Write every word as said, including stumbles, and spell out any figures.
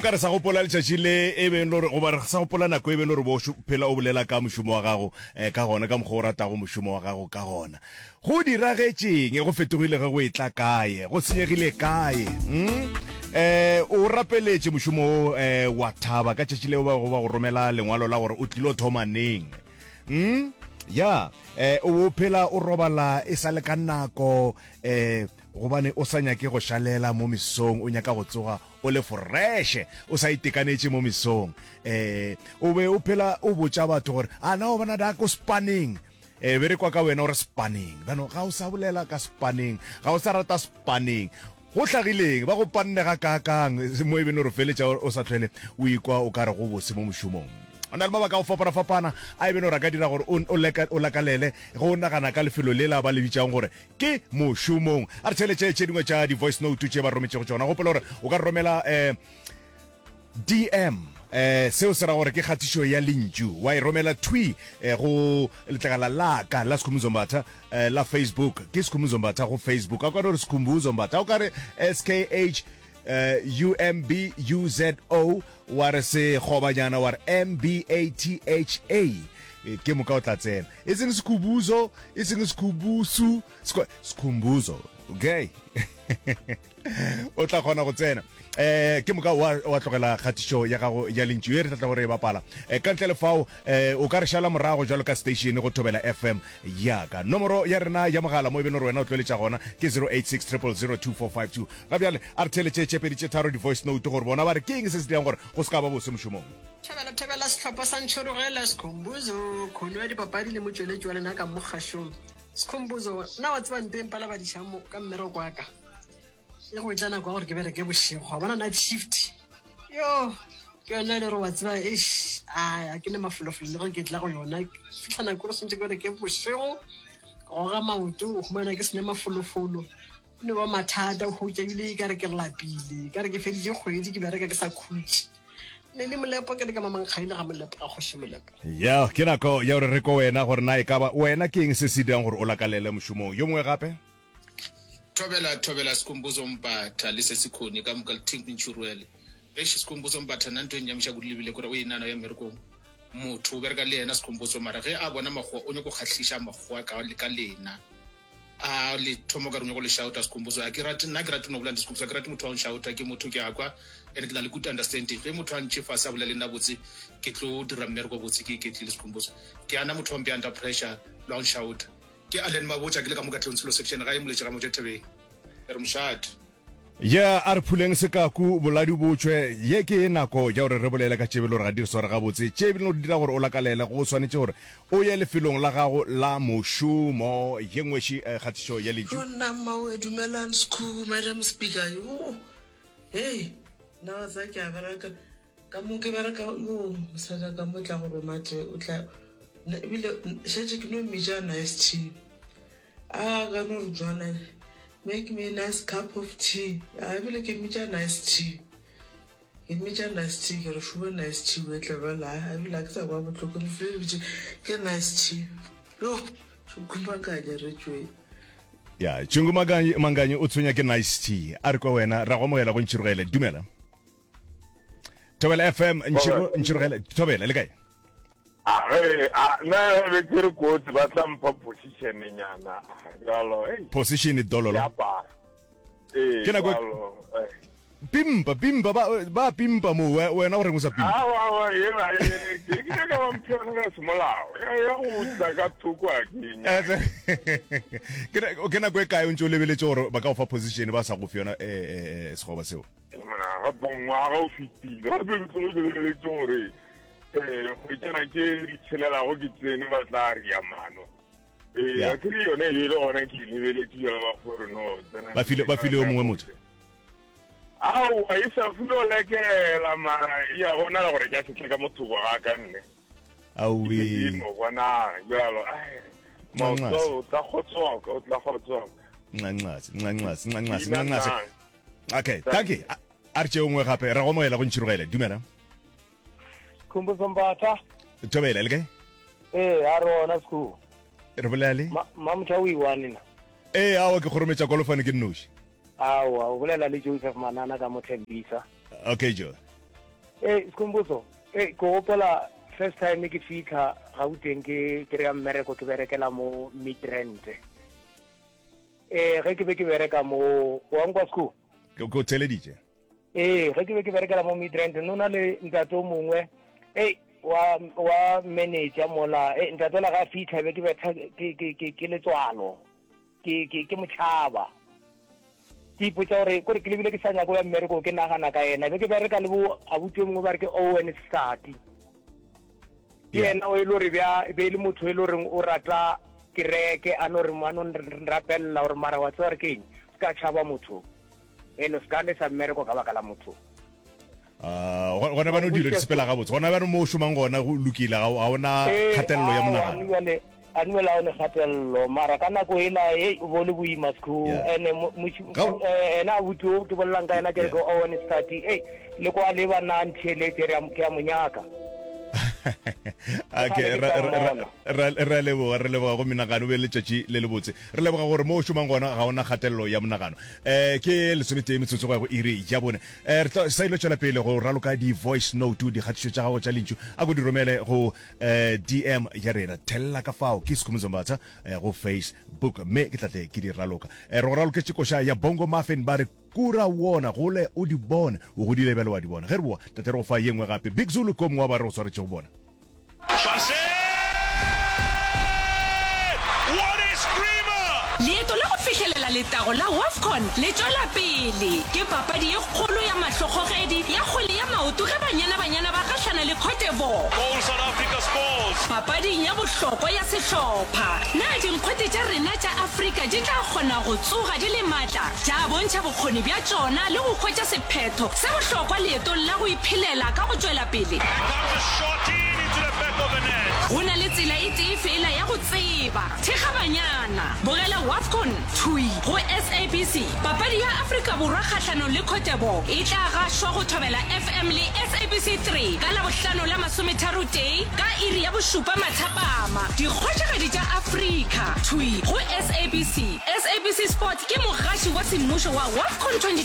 Ka re sa gopola letšatši le e beng le gore, goba re sa gopola nako e beng le gore bo phela o bolela ka mošomo wa gago eh, ka gona, ka mokgwa o ratago mošomo wa gago ka gona. Go diragetšeng? Go fetogile ge go etla kae? Go senyegile kae? Mm? Eh, o rapeletše mošomo wo eh, wa thaba ka tšatši leo ba go ba go romela lengwalo la gore o tlilo thoma neng. Mm? Ya, eh, o phela o robala e sa le ka nako eh, gobane o sa nyake go šalela mo mesong, o nyaka go tsoga o le foreshe, o sa itekanetše mo mesong. Eh, o be o phela o botša batho gore a na o bona da ko spaneng, eh, be re kwa ka wena o re spaneng. Bano ga o sa bolela ka spaneng, ga o sa rata spaneng. Go hlagileng ba go panne ga kaakang mo e beng gore feletša o sa tlhwele o ikwa o ka re go bose mo mošomong. O na le mabaka a go fapana-fapana a e beng gore a ka dira gore o, o, leka, o lakalele go nagana ka lefelo lela ba le bitšang gore ke mošomong. A re theeletše tše dingwe tša di-voice note tše ba rometšego tšona. Gopola gore o ka romela eh, D M, eh, seo se ra gore ke kgatišo ya lentšu, wa e romela thwi eh, go letlakala la ka la Skhumbuzo Mbatha eh, la Facebook. Ke Skhumbuzo Mbatha go Facebook. A o ka no re Skhumbuzo Mbatha, o ka re S K H eh, U M B U Z O, wa re sekgobanyana wa re M B A T H A, ke moka o tla tsena. E seng Skhumbuzo, e seng Skhumbusu, Skhumbuzo, okay. O tla kgona go tsena eh ke moka wa wa tlogela kgatišo ya gago ya lentšu e re tla tla gore e bapala eh, ka ntle le fao eh, o ka re šala morago jwalo ka station go Thobela F M ya ka. Nomoro ya rena ya mogala mo e beng gore wena o tloeletša gona ke zero eight six triple zero two four five two. Ga bjale a re theeletše tše pedi tše tharo di-voice note gore bona ba re ke eng se se dirang gore go se ka ba bose mošomong. Thobela, thobela sehlopha sa Ntšhorogela, Skhumbuzo, kgono ya dipapadi le motšweletši wa lena ka mo kgašong. Skhumbuzo, na wa tseba nto e mpalabadišang mo ka mmereko wa ka? E go etla nako ya gore ke bereke bošego, wa bona night shift. Yo, ke yona e le gore wa tseba, eish, a ke ne mafolofolo le ge ke tla go yona. Fihla nako gore swantše ke bereke bošego, ke goga maoto, o humana ke sene mafolofolo. O ne ba mathata, o hutša ebile e ka re ke lapile, ka re ke feditše kgwedi ke bereka ke sa khutše. Ne le Molepo, ke le ka Mamankgaile ga Molepo, ga Kgoši Molepo. Ya, ke nako ya gore re ko wena gore na e ka ba wena ke eng se se dirang gore o lakalele mošomong. Yo mongwe gape? Thobela, thobela Skhumbuzo Mbatha le Sesikhoni ka moka le team Ntšhirwele. Eish Skhumbuzo Mbatha nna ntho e nnyamiša kudu lebile kore o e nana ya mmerekong. Motho o bereka le yena Skhumbuzo mara ge a bona makgowa o nyako kgahliša makgowa ka, ka lena. A le thomo ka re o nyako le shouta Skhumbuzo. A ke rate, nna ke rate no bolela le Skhumbuzo, a ke rate motho wa go nshouta, ke motho ke a kwa and ke na le good understanding. Ge motho a ntše fase a bolela le nna botse ke tlo dira mmereko botse ke iketlile Skhumbuzo. Ke ana motho wa mpea under pressure le wa go nshouta. Ke Allen Mabotja ke le ka mo Katlehong Tsholo Section gae Moletši ga Moja Thabeng. Re mošate. Ya, a re phuleng sekaku, boladu bo tšwe. Ye ke nako ya gore re bolele ka tše bile gore ga di re sware gabotse, tše bile gore di dira gore o lakalele. Go swanetše gore o ye lefelong la gago la mošomo. Ye nngwe še kgatišo ya lentšu. Yo nna mmawe dumelang Skhoo Madam Speaker yo hei nna wa tseba ke a bereka ka mo ke bereka yo mosadi wa ka mo tla go roma tee o tla ebile šetše ke no mmitša nice tea a ka no re jwana make me a nice cup of tea a ebile ke mmitša nice tea ke mmitša nice tea ke re šuba nice tea o e tla bjala ebile a ke sa kwa bohloko ke fele bitše ke nice tea yo šukumakanya re tšwe Ya, Tšungu Manganyi, Manganyi o tshwenya ke nice tea. A re kwa wena, ra go amogela go Ntšhirogele. Dumela. Thobela F M, Ntšhiro, Ntšhirogele, Thobela, le kae? A ge, a, na be ke re kotsi ba tla mpha position nyana, jalo, hey. Position dololo. Ya para. Ee, Ke nako jalo, eh. Pimpa, pimpa, ba, ba pimpa mo, we, wena o reng o sa pimpa? Awa, awa, yena, yena, ke, ke nyaka ba mphe yona ka semolao. Ya, ya go tla ka thoko a ke nyaka. Ke na-, ke nako e kae o ntse o lebeletše gore ba ka go fa position ba sa go fe yona, eh, eh, eh, sekgoba seo? Gape ngwaga o fetile, gape ke tloge ke lebeletše gore, eh, kgwetšana tše di tshelelago ke tsene ba tla ria mano. Eh, Ya. a ke re yone e be e le gona ke e lebeletše jalo ba gore no, tsena Ba file, ba file yo mongwe motho. Aowa, e sa file o lekela, mara ya bonala gore ke a setle ka mothoko ga ka nne. Aowe. Ke no bona jalo, ai, Ncancaze. maoto o tla kgotsoka, o tla kgotsoka. Ncancaze, ncancaze, ncancaze, Ina ncancaze. nang. Okay, thank you. A, a re tšeo nngwe gape, ra go amogela go Ntšhirogele. Dumela. Skhumbuzo Mbatha. Thobela, le kae? Ee, a re ona Skhumbu. Re bolela le? Ma, Mamotho o iwane na? Ee, aowa, ke kgorometša kolofane ke nnoši. Aowa, o bolela le Joseph Manana ka mo Thembisa. Okay, Joe. Ee, Skhumbuzo, ee ke gopola first time ke fitlha Gauteng ke kry-a mmereko ke berekela mo Midrand. Ee, ge ke be ke bereka mo wa nkwa Skhu? Ke o theleditše. Ee, ge ke be ke berekela mo Midrand no na le ntate o mongwe ei wa wa manager mola e ntate la ga fitlha be ke betha ke ke ke ke letswalo ke ke ke motšhaba ke ipotsa gore kore ke lebile ke sa nyako ya mmereko ke nagana ka yena be ke bereka le bo abuti o mongwe ba re ke Owen Sati ke yena o e le gore bja be e le motho e le goreng o rata kereke a no re a no nrapelela gore mara wa tseba gore ke eng se ka tšhaba motho ene se ka lesa mmereko ka baka la motho. Ah, gona bano dilo di sepela gabotse gona bano mo o šomang gona go lokile ga o na kgatelelo ya monagano. A dumela o ne kgatelelo mara ka nako ela e o bo le boima sekhu ene ena abuti o ke bolelang ka yena ke re ke Owen Stati ei le kwa le ba na ntheeletše re ke a mo nyaka. Okay, re a leboga, re leboga go menagano, o be le letšatši le lebotse. Re leboga gore mo o šomang gona ga ona kgatelelo ya monagano. Um ke lesometee metsotso go ya go iri ya bone. Um re tla sa ilo tšwela pele go raloka di-voice note, dikgatišo tša gago tša lentšu, a ko di romele go um D M ya rena. Thella ka fao ke Skhumbuzo Mbatha um go Facebook, mme ke tla tle ke di raloka. Um re go raloketše koša ya Bongo Muffin, ba re Kura wona, gole o di bone. O godile bjale wa di bona. Ge re boa, tate re go fa ye nngwe gape. Big Zulu ke o mongwe wa ba re go swaretšego bona. Leeto la go fihlelela letago la WAFCON le tšwela pele. Ke papadi ye kgolo ya mahlokgogedi ya kgwele ya maoto ge Banyana Banyana ba gahlana le Cote d'Ivoire papading ya bohlokwa ya sehlopha. Na dinkgwete tša rena tša Afrika di tla kgona go tsoga di le matla, tša bontšha bokgoni bja tšona le go hwetša sephetho se bohlokwa leetong la go iphelela ka go tšwela pele? Go na le tsela e tee feela ya go tseba. Thekga Banyana. Bogela WAFCON thwi go S A B C. Papadi ya Afrika Borwa kgahlanong le Cote d'Ivoire e tla gašwa go Thobela F M le S A B C three ka Labohlano la masometharotee ka iri ya bošupa mathapama. Dikgošigadi tša Afrika thwi go S A B C. S A B C Sport ke mogaši wa semmušo wa WAFCON twenty twenty